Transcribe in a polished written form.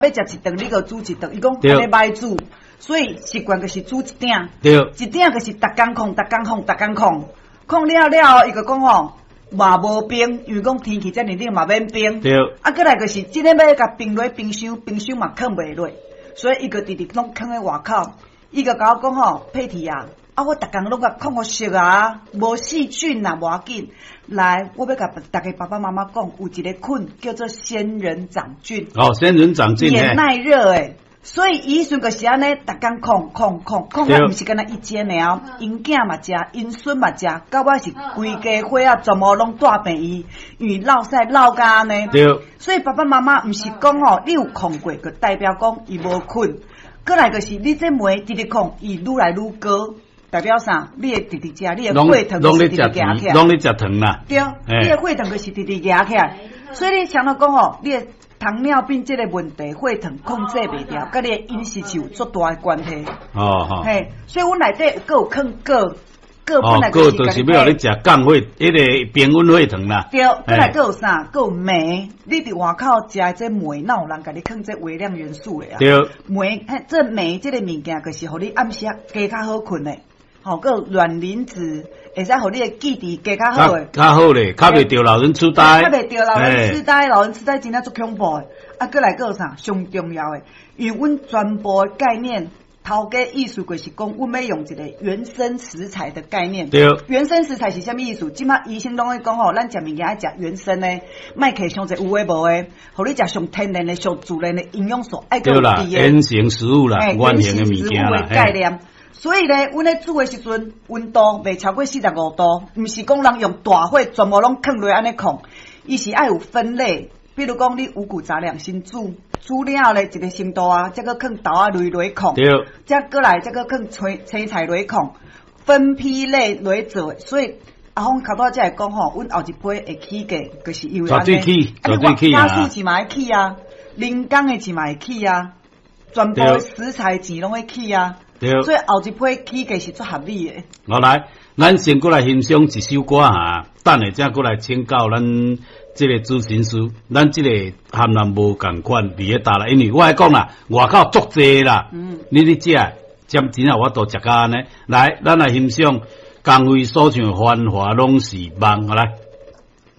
欲食一頓，你就煮一頓。伊講按呢歹煮，所以習慣就是煮一鼎。一鼎就是逐工控，逐工控，逐工控，控了了後，伊就講吼嘛無冰，因為講天氣遮爾冷嘛免冰。啊，閣來就是這个欲共冰落冰箱，冰箱嘛囥袂落，所以伊就直直攏囥佇外口。伊就共我講吼，佩蒂啊，啊我逐工攏共控予熟啊，無細菌啦，無要緊。來，我欲共逐家爸爸媽媽講，有一個菌叫做仙人掌菌。哦，仙人掌菌。也耐熱的，所以伊彼陣就是按呢，逐工控控控控，啊，毋是干焦伊一个爾，𪜶囝嘛食，𪜶孫嘛食，到尾是規家伙仔全部攏帶病院，因為落屎落甲按呢。所以爸爸媽媽毋是講吼，你有控過，就代表講伊無菌。閣來就是你這糜直直控，伊愈來愈高，代表啥？你會直直食，你的血糖就是直直行起來。攏咧食糖啦。對，你的血糖就是直直行起來。所以你想到講吼，你的糖尿病這個問題，血糖控制袂牢，佮你的飲食是有足大的關係。嘿，所以阮內底閣有囥鉻，鉻本來就是鉻就是欲予你食降血，彼个平穩血糖啦。對，閣來閣有啥？閣有鎂，你佇外口食的這鎂，哪有人共你囥這微量元素的啊？對。鎂，這鎂這個物件，就是予你暗時加較好睏的。吼，閣有卵磷脂，會使予你的記憶加較好的。較好咧，較袂著老人痴呆。較袂著老人痴呆，老人痴呆真正足恐怖的。啊，閣來閣有啥？上重要的，因為阮全部的概念，頭家意思就是講，阮欲用一個原生食材的概念。原生食材是啥物意思？這馬醫生攏咧講吼，咱食物件愛食原生的，莫摕傷濟有的無的，予你食上天然的、上自然的營養素，愛閣有對啦，原型食物啦，原型的物件啦。概念。所以咧，阮咧煮的時陣，溫度袂超過45度，毋是講人用大火全部攏囥落按呢控，伊是愛有分類。比如講，你五穀雜糧先煮，煮了後咧一個程度啊，才閣囥豆仔類落控，才閣來才閣囥青青菜落控，分批類落做。所以阿峰頭拄仔才會講吼，阮後一批會起價，就是因為按呢。絕對起，絕對起啊！家私錢嘛會起啊，人工的錢嘛會起啊，全部食材錢攏會起啊。所以後一批起價是足合理的。好來，咱先閣來欣賞一首歌哈，等下才閣來請教咱這個諮詢師，咱這個含咱無仝款佇咧搭啦，因為我愛講啦，外口足濟啦，你咧食，真真有法度食甲按呢。來，咱來欣賞江蕙所唱的《繁華攏是夢》，好來。